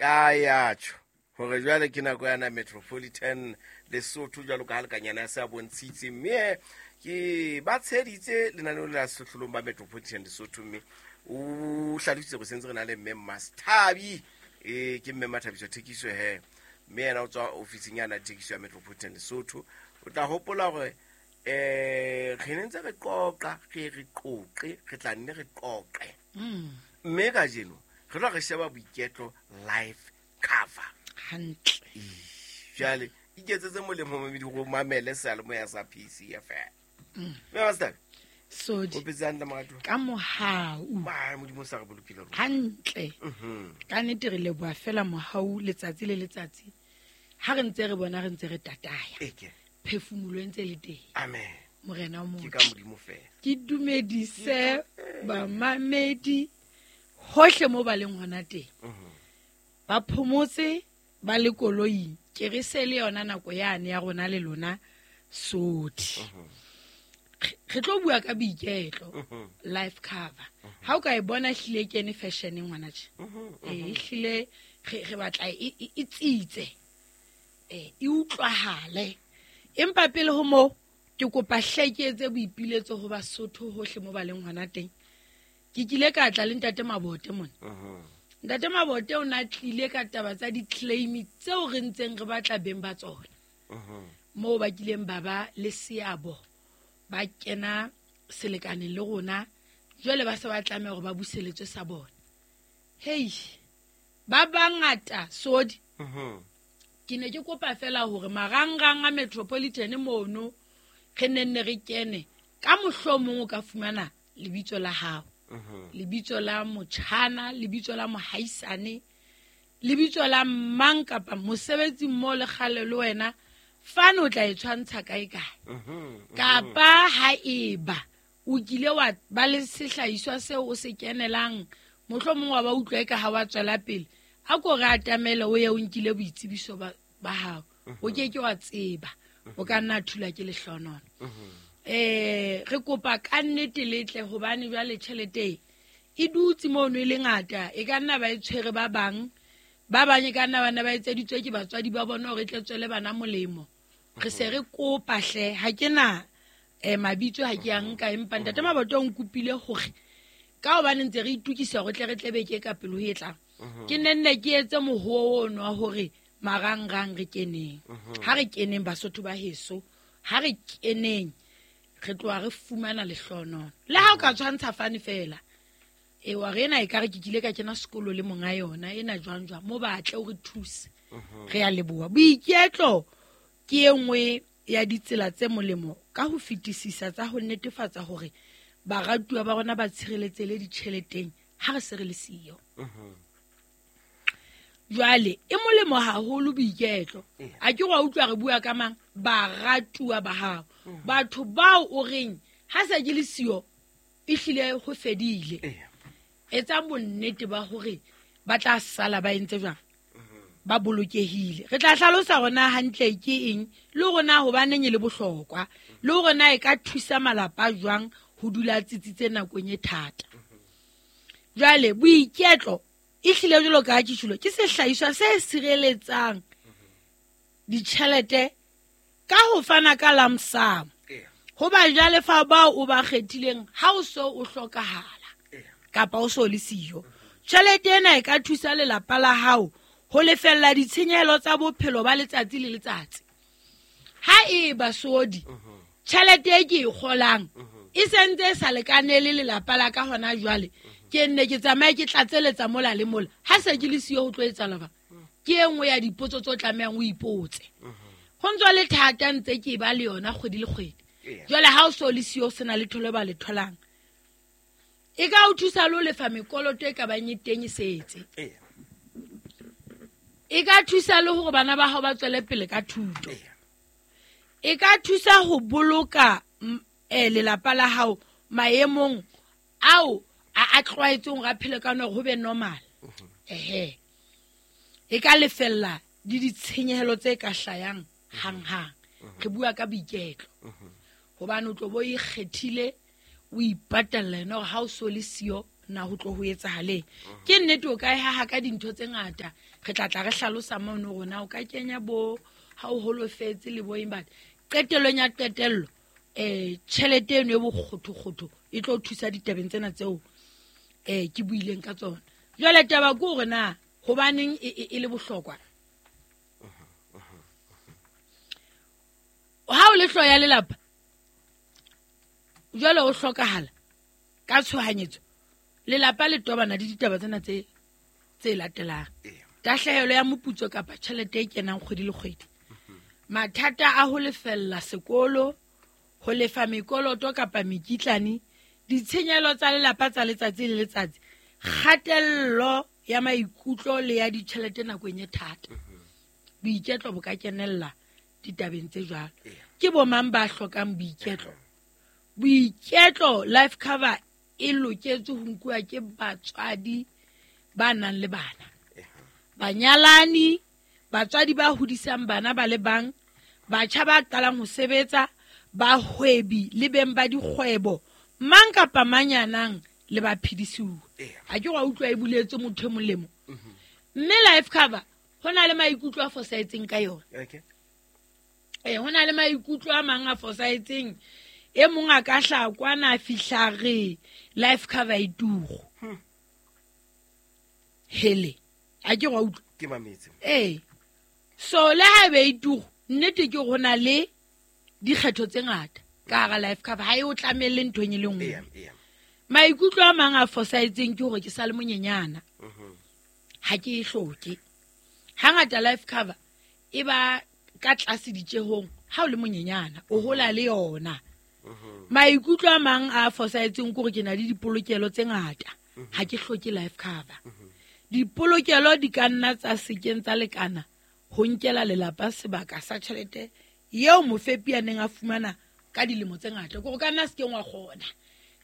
A ya tjho hore jwale ke nako yana Metropolitan Lesotho jwalo ka ha lekanyana ya se a bontshitse, mme ke ba tsheditse lenaneo la sehlohlolong ba Metropolitan Lesotho, mme o hlalositse gore sentse re na le mme Masthabi, ke mme Mathabiso Thekiso he, mme yena o tswa ofising yana thekiso ya Metropolitan Lesotho. O tla hopola gore re ne ntse re qoqa, re qoqe, re tla nne re qoqe, mme kajeno re tlo re sheba boiketlo life cover hantle. Jwale iketsetse molemo mamedi go mamele seyalemoya sa PCFM. Mme Master, Sodi, o phetse hantle moratuwa? Ka mohau. Ba Modimo sa re bolokile rona. Hantle. Ka nnete re leboha fela mohau letsatsi le letsatsi. Ha re ntse re bona re ntse re tataya. Eke. Phefumolo e ntse le teng. Amen. Morena o Ke ka motle. Modimo fela. Ke dumedise bamamedi hohle mo ba leng hona teng. Ba phomotse ba le koloing. Ke re se le yona nako yane ya rona le lona Sodi. Re tlo bua ka boiketlo life cover. Ha o ka e bona hlile e kene fashion ngwana tje. Ehlile re batla e tsitse. E utlwahale. Empa pele ho moo ke kopa hle ke etse boipiletso ho Basotho hohle mo ba leng hona teng. Ke kile ka tla le ntate Mabote mona. Ntate Mabote o na tlile ka taba tsa di-claim tseo re ntseng re batla beng ba tsona. Moo ba kileng ba ba le seabo, ba kena selekaneng le rona, jwale ba se ba tlameha hore ba buseletswe sa bona. Hei, ba bangata Sodi. Ke ne ke kopa fela hore marangrang a Metropolitan mono re nenne re kene, ka mohlomong o ka fumana lebitso la hao, lebitso la motjhana, lebitso la mohaisane, lebitso la mang kapa mosebetsi mmo le kgale le wena, fane o tla e tshwantsha kae kae. Kapa ha eba o kile wa ba le sehlahiswa seo o se kenelang, mohlomong wa ba utlwa eka ha wa tswela pele, a ko re atamele o ye o nkile boitsebiso ba hao. O ke ke wa tseba, o ka nna thula ke lehlonono. Re kopa ka nnete letle hobane jwale tjhelete e dutse mono e le ngata, e ka nna ba e tshwere ba bang, ba bang e ka nna bana ba etseditswe ke batswadi ba bona hore e tle tswele bana molemo. Re se re kopa hle, ha ke na mabitso ha ke a nka, empa ntate Mabote o nkopile hore ka hobane ntse re itukisa hore tle re tle beke ka pelo e tlang, ke nenne ke etse mohoo ono wa hore marangrang re keneng. Ha re keneng Basotho ba heso, ha re keneng re tloha re fumana lehlonono. Le ha o ka tshwantsha fane fela, wa re ena ekare ke kile ka kena sekolo le monga yona, ena jwang jwang, mo batle o re thuse. Re a leboha. Boiketlo ke e nngwe ya ditsela tse molemo ka ho fetisisa tsa ho netefatsa hore baratuwa ba rona ba tshireletsehile ditjheleteng ha re se re le siyo. Jwale e molemo haholo boiketlo. A ke wa utlwa re bua ka mang? Baratuwa ba hao. Batho bao o reng ha se ke le siyo ehlile ho fedile. Etsa bonnete ba hore ba tla sala ba entse jwang? Ba bolokehile. Re tla hlalosa hore na hantle ke eng, le hore na hobaneng e le bohlokwa, le hore na e ka thusa malapa jwang ho dula tsitsitse nakong e thata. Jwale boiketlo ehlile jwalo ka ha ke tjholo, ke sehlahiswa se sireletsang ditjhelete ka ho fana ka lump sum ho bajalefa bao o ba kgethileng ha o so o hlokahala kapa o so le siyo. Tjhelete ena e ka thusa lelapa la hao ho lefella ditshenyehelo tsa bophelo ba letsatsi le letsatsi. Ha e ba Sodi, tjhelete e ke e kgolang e sentse e sa lekanele lelapa la ka hona jwale, ke nne ke tsamaye ke tlatseletsa mola le mola, ha se ke le siyo ho tlo etsahala ba? Ke e nngwe ya dipotso tse o tlamehang o ipotse. Ho ntso le thata ntse ke ba le yona kgwedi le kgwedi. Jwale ha o so le siyo o sena letho le ba le tholang, e ka o thusa le ho lefa mekoloto e ka bang e teng e setse. E ka thusa le hore bana ba hao ba tswele pele ka thuto. E ka thusa ho boloka lelapa la hao maemong ao a tlwaetseng hore a phele ka ona hore ho be normal. E ka lefella le ditshenyehelo tse ka hlayang hanghang. Re bua ka boiketlo. Hobane o tlo bo ikgethile, o ipatalla yena hore ha o so le siyo, na ho tlo ho etsahaleng. Ke nnete o ka e haha ka dintho tse ngata, re tla tla re hlalosa mono rona o ka kenya bo ha o holofetse le bo eng, but qetellong ya qetello tjhelete eno e bokgothokgotho e tlo thusa ditabeng tsena tseo ke buileng ka tsona. Jwale taba ke hore na hobaneng e le bohlokwa. Ha o le hlooho ya lelapa jwale o hlokahala ka tshohanyetso, lelapa le tobana le ditaba tsena tse latelang. Tahlehelo ya moputso kapa tjhelete e kenang kgwedi le kgwedi, mathata a ho lefella sekolo, ho lefa mekoloto kapa mekitlane, ditshenyehelo tsa lelapa tsa letsatsi le letsatsi, kgatello ya maikutlo le ya ditjhelete nakong e thata. Boiketlo bo ka kenella ditabeng tse jwalo. Ke bo mang ba hlokang boiketlo? Boiketlo life cover e loketse ho nkuwa ke batswadi ba nang le bana, banyalani, batswadi ba hodisang bana ba le bang, batjha ba qalang ho sebetsa, bahwebi le beng ba dikgwebo, mang kapa mang ya nang le baphedisuwa. Ha ke wa utlwa e buletse motho e molemo. Mme life cover ho na le maikutlo a fosahetseng ka yona. Ho na le maikutlo a mang a fosahetseng. E mong a ka hla kwana a fihla re life cover e turu. Hele, a ke wa utlwa? Ke mametse. So le ha ebe e turu, nnete ke ho na le dikgetho tse ngata ka hara life cover, ha e o tlamelle nthong e le nngwe. Maikutlo a mang a fosahetseng ke hore ke sa le monyenyana, ha ke e hloke. Hangata life cover e ba ka tlase ditjehong ha o le monyenyana, o hola le yona. Maikutlo a mang a fosahetseng ke hore ke na le dipolokelo tse ngata, ha ke hloke life cover. Dipolokelo di ka nna tsa sekeng tsa lekana ho nkela lelapa sebaka sa tjhelete eo mofepi a neng a fumana ka dilemo tse ngata. Ke hore ka nna sekeng wa kgona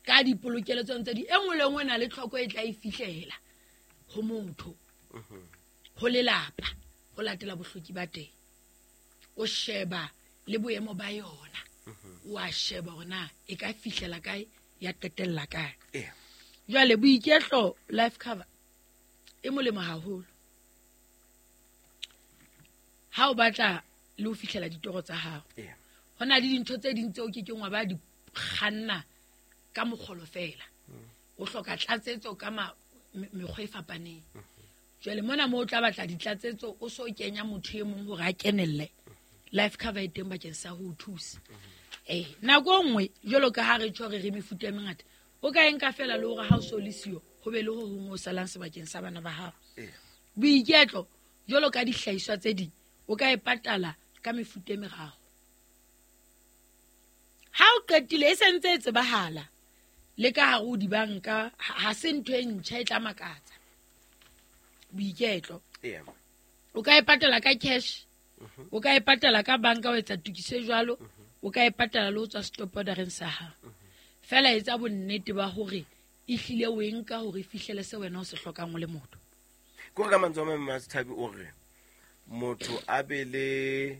ka dipolokelo tseo tse di, e nngwe le nngwe e na le tlhoko e tla e fihlela ho motho, ho lelapa, ho latela bohloki ba teng. O sheba le boemo ba yona, wa sheba hore na e ka fihlela kae, ya qetella kae. Jwale boiketlo life cover e molemo haholo ha o batla le ho fihlela ditoro tsa hao. Ho na le dintho tse ding tseo ke keng wa ba di kganna ka mokgolo fela, o hloka tlatsetso ka mekgwa e fapaneng. Jwale mona moo o tla batla ditlatsetso, o so kenya motho e mong hore a kenelle, life cover e teng bakeng sa ho o thusa. Nako e nngwe jwalo ka ha re tjho re mefuta e mengata, o ka e nka fela le hore ha o so le siyo, ho be le ho hong ho salang sebakeng sa bana ba hao. Boiketlo jwalo ka dihlahiswa tse ding, o ka e patala ka mefuta e meraro. Ha o qetile e sentse e tsebahala le ka hare ho dibanka, ha se ntho e ntjha e tla makatsa. Boiketlo o ka e patala ka cash, o ka e patala ka banka o etsa tokiso e jwalo, o ka e patala le ho tswa stop ordereng sa hao. Fela etsa bonnete ba hore e hlile o e nka hore e fihlele se wena o se hlokang o le motho. Ke hore ka mantswe a mang Mmathabi o re motho a be le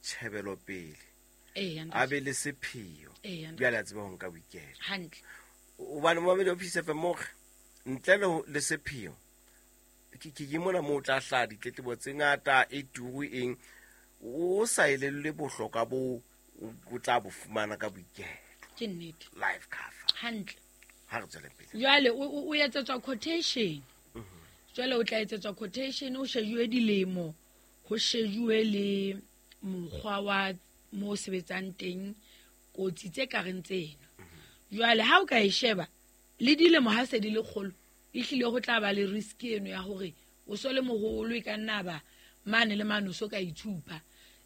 tjhebelopele, a be le sepheo, jwale a tsebe ho nka boiketlo. Hantle. Hobane momamedi wa Peace FM o re ntle le sepheo, ke mona moo o tla hlaha ditletlebo tse ngata, e turu eng, o sa elellwe bohlokwa bo o tla bo fumana ka boiketlo. Ke nnete. Life cover. Hantle. Ha re tswele pele. Jwale o etsetswa quotation. Jwale o tla etsetswa quotation, o shejuwe dilemo, ho shejuwe le mokgwa wa mo o sebetsang teng, kotsi tse ka reng tseno. Jwale ha o ka e sheba le dilemo ha se di le kgolo, ehlile ho tla ba le risk eno ya hore o so le moholo, e ka nna ba mane le mane o so ka itshupa.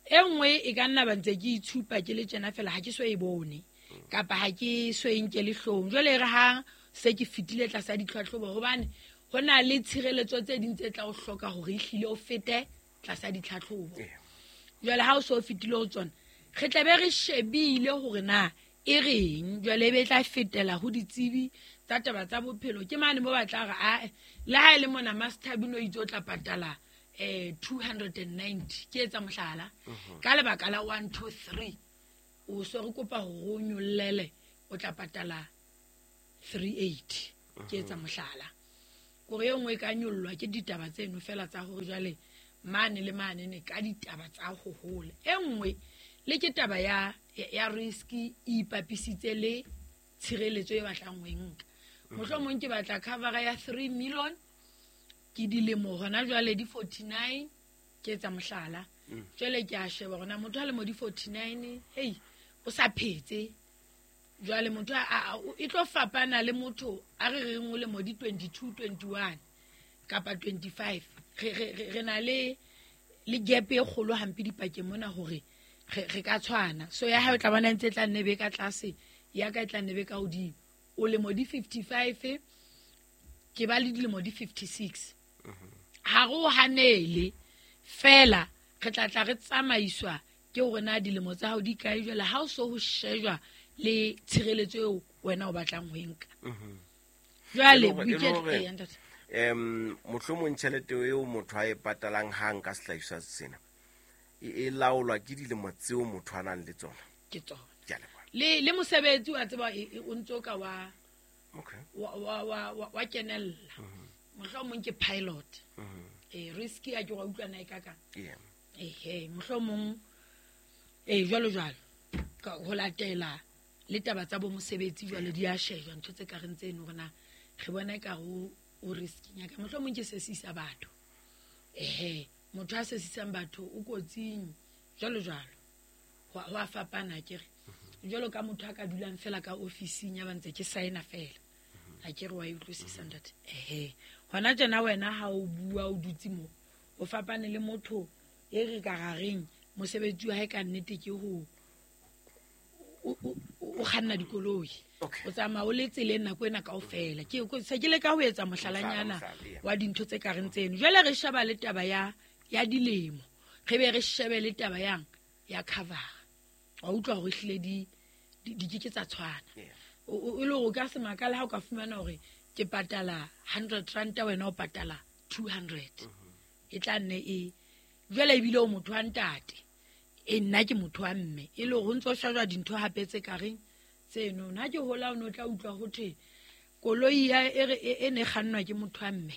E nngwe e ka nna ba ntse ke itshupa ke le tjena fela, ha ke so e bone kapa ha ke so e nke le hloohong. Jwale e re ha se ke fetile tlasa ditlhatlhobo, hobane ho na le tshireletso tse ding tse tla o hloka hore ehlile o fete tlasa ditlhatlhobo. Jwale ha o so fetile ho tsona, re tla be re shebile hore na e reng. Jwale e be tla fetela ho ditsebi tsa taba tsa bophelo. Ke mane mo batla re a le ha e le mona Master Bino itse o tla patala 290, ke etsa mohlala, ka lebaka la 1 2 3 o so re kopa hore o nyollele, o tla patala 380. Ke etsa mohlala kore e nngwe e ka nyollwa ke ditaba tseno fela tsa hore jwale mane le mane ne ka ditaba tsa ho hola. E nngwe le ke taba ya risk e ipapisitse le tshireletso e batlang ho e nka. Mohlomong ke batla cover ya 3 million, ke dilemo hona jwale di 49, ke etsa mohlala. Jwale ke a sheba hore na motho a lemo di 49, hei, o sa phetse. Jwale motho e tlo fapana le motho a re reng o lemo di 22, 21 kapa 25. Re na le gap e kgolo hampe dipakeng mona hore re ka tshwana. So ya hae o tla bona ntse e tla nne be ka tlase, ya ka e tla nne be ka hodimo. O lemo di 55, ke ba le dilemo di 56. Ha re o hanele fela, re tla re tsamaiswa ke hore na dilemo tsa hao di kae jwale, ha o so ho shejwa le tshireletso eo wena o batlang ho e nka. Jwale boiketlo mohlomong tjhelete eo motho a e patalang hang ka sehlahiswa sena e laolwa ke dilemo tseo motho a nang le tsona. Ke tsona. Le mosebetsi wa tseba o ntso ka wa wa kenella. Mohlomong ke pilot. Risk ya ke wa utlwana e ka ka. Mohlomong jwalo jwalo ka ho latela le taba tsa bo mosebetsi jwale di a shejwa ntho tse ka reng tseno hore na re bona e ka ho o riskinya ka mohlomong ke sesisa batho. Motho a sesisang batho o kotsing jwalo jwalo. Ho a fapana ke re. Jwalo ka motho a ka dulang fela ka ofising ya ba ntse ke signa fela. Ha ke re wa utlwisisa ntate. Hona tjena wena ha o bua o dutse mo, o fapane le motho e re ka rareng mosebetsi wa hae ka nnete ke ho o kganna dikoloi. O tsamaya o le tseleng nako ena kaofela. Ke se ke leka ho etsa mohlalanyana wa dintho tse ka reng tseno. Jwale re sheba le taba ya dilemo, re be re shebe le taba yang ya cover. Wa utlwa hore hlile di ke tsa tshwana. O le hore ka se makala ha o ka fumana hore ke patala 100 rand wena o patala 200. E tla nne e jwale ebile o motho wa ntate, e nna ke motho wa mme, e le hore ntso shajwa dintho hape tse ka reng tseno. Nna ke hola o no tla utlwa ho thwe koloi ya e ne kgannwa ke motho wa mme,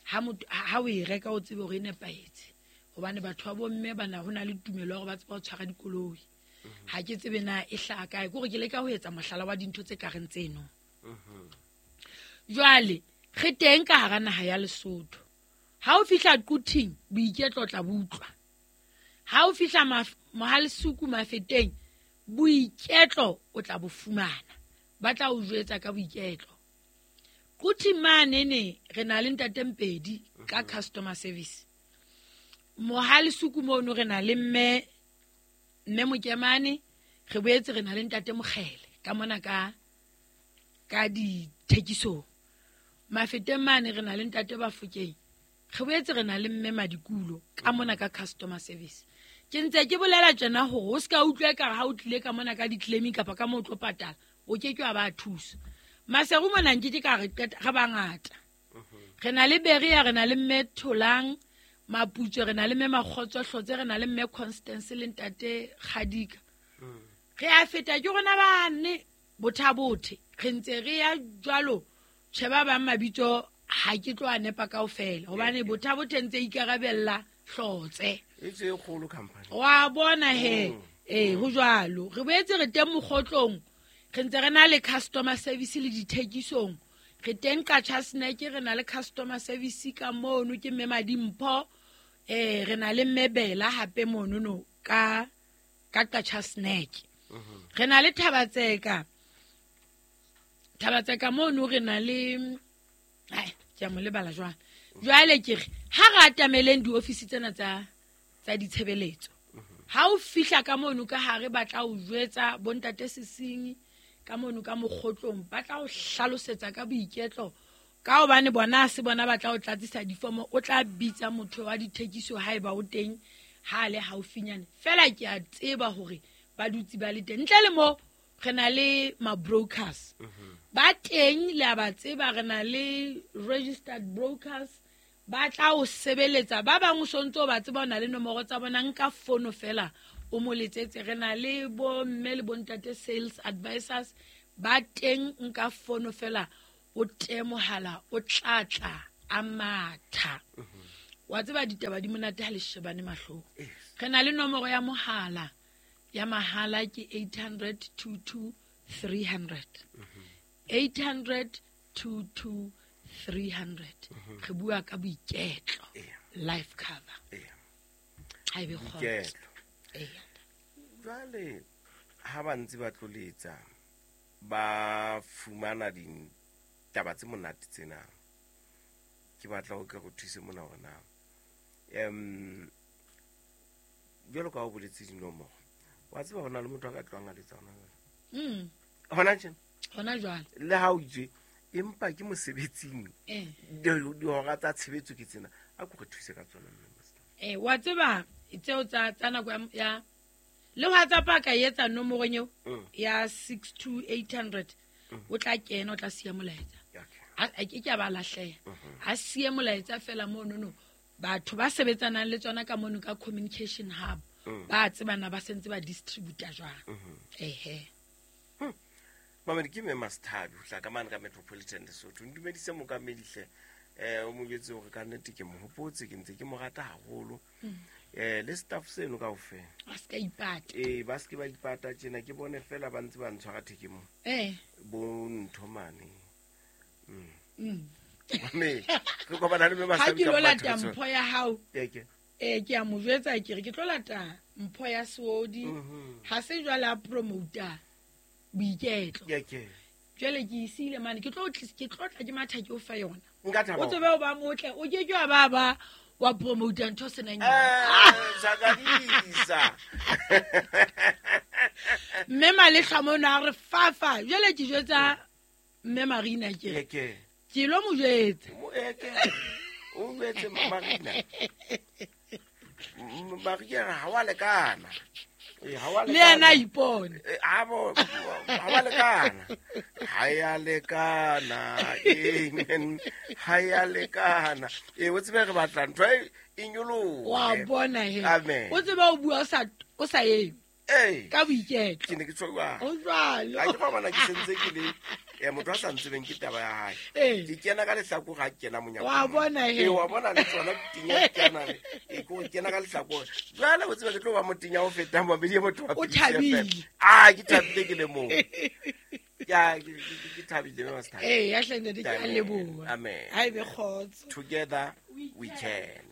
ha o e reka o tsebe hore e nepahetse, hobane batho ba bomme bana ho na le tumelo ya hore ba tseba ho tshwara dikoloi. Ha ke tsebe na e hlaha kae, ke hore ke leka ho etsa mohlala wa dintho tse ka reng tseno. Jwale re teng ka hara naha ya Lesotho. Ha o fihla Quthing boiketlo tla butlwa. Ha o fihla Mohalesuku Mafeteng boiketlo o tla bo fumana. Ba tla o jwetsa ka boiketlo. Quthing mane ne re na le ntate Mpedi ka customer service. Mohalesuku mono re na le mme Mokemane, re boetse re na le ntate Mokgele ka mona ka dithekisong. Mafeteng mane re na le ntate Bafokeng, re boetse re na le mme Madikulo ka mona ka customer service. Ke ntse ke bolela tjena hore o ska utlwa ekare ha o tlile ka mona ka di-claiming kapa ka moo o tlo patala, o ke ke wa ba thusa. Maseru mona nke ke ka re qeta, re bangata. Re na le Beria, re na le mme Tholang Maputso, re na le mme Makgotso Hlotse, re na le mme Constance le ntate Kgadika. Re a feta ke rona bane bothabothe, re ntse re ya jwalo. Tjhe ba bang mabitso ha ke tlo a nepa kaofela hobane bothabothe ntse ikarabella Hlotse. E tse kgolo company. Wa bona he, ho jwalo. Re boetse re teng mokgotlong, re ntse re na le customer service le dithekisong. Re teng Qacha Snack, re na le customer service ka mono ke mme Madimpho, re na le mme Bela hape mono no ka Qacha Snack. Re na le Thabatseka. Thabatseka mono re na le ke a mo lebala jwang. Jwale ke re ha re atameleng diofisi tsena tsa ditshebeletso. Ha o fihla ka mono ka hare ba tla o jwetsa bontate Sesinyi ka mono ka mokgotlong, ba tla o hlalosetsa ka boiketlo, ka hobane bona se bona ba tla o tlatsisa difomo, o tla bitsa motho wa dithekiso haeba o teng ha le haufinyane. Fela ke a tseba hore ba dutse ba le teng. Ntle le mo re na le ma-brokers ba teng, le a ba tseba, re na le registered brokers ba tla o sebeletsa. Ba bang o sontso ba tseba o na le nomoro tsa bona, nka fono fela o mo letsetse. Re na le bo mme le bontate sales advisors ba teng, nka fono fela O tee mohala o tla tla a matha. Wa tseba ditaba di monate ha le shebane mahlong. Re na le nomoro ya mohala ya mahala ke 800 22 300. 800 22 300. Re bua ka boiketlo. Life cover. Ha ebe kgotso. Jwale ha ba ntse ba tloletsa ba fumana ditaba tse monate tsena, ke batla ho ke go thuse mona hore na jwalo ka o boletse dinomoro, wa tseba hona le motho a ka tlohang a letsa hona jwale. Hona tjena? Hona jwale. Le ha o itse empa ke mosebetsing. Dihora tsa tshebetso ke tsena, a ko re thuse ka tsona mme Master. Wa tseba tseo tsa nako ya le WhatsApp a ka etsa nomorong eo ya 62800, o tla kena, o tla siya molaetsa. A ke ke ba lahleha. A siye molaetsa fela mono no. Batho ba sebetsanang le tsona ka mono ka communication hub, ba tsebana ba sentse ba distributor jwang. Ehe. Mamedi ke Mme Master ho tla ka mane ka Metropolitan Lesotho. Ntumedise mokamedihle o mo jwetse hore ka nnete ke mo hopotse, ke ntse ke mo rata haholo. Le staff seno kaofela. Ba se ka ipata. Ba se ke ba ipata tjena, ke bone fela ba ntse ba ntshwara theke mo. Bo ntho mane. Mame, re kopana le Mme Master. Ha ke lo lata mpho ya hao. Ke. Ke a mo jwetsa ke re ke tlo lata mpho ya Seodi. Ha se jwale a promoter boiketlo. Ke. Jwale ke isile mane, ke tlo tla ke matha ke o fa yona. Nka thaba. O tsebe o ba motle, o ke ke wa ba wa promoter ntho senang. Zakadisa. Mme Malehla mona a re fafa, jwale ke jwetsa Mme Marina ke. Ke. Ke lo mo jwetsa. Ke. O jwetse Marina. Marina ha wa lekana. Ha wa lekana. Le yena ipone. Ha wa lekana. Ha ya lekana. Amen. Ha ya lekana. O tsebe re batla ntho e nyolohe. Wa bona he. Amen. O tsebe o bua o sa eme. Ka boiketlo. Ke ne ke tshwa. O jwalo. Ha ke ba bona ke sentse ke le motho a sa ntsebeng ke taba ya hae. Ke kena ka lehlakore ha ke kena monyako. Wa bona he. Wa bona le tsona tinya ke kena le. Ke go kena ka lehlakore. Jwale o tsebe ke tlo ba motinya o fetang mabedi motho wa. O thabile. Ah, ke thabile ke le mong. Ya ke thabile mme Master. Ya hle ntate ke a leboha. Amen. Ha ebe kgotso. Together we can.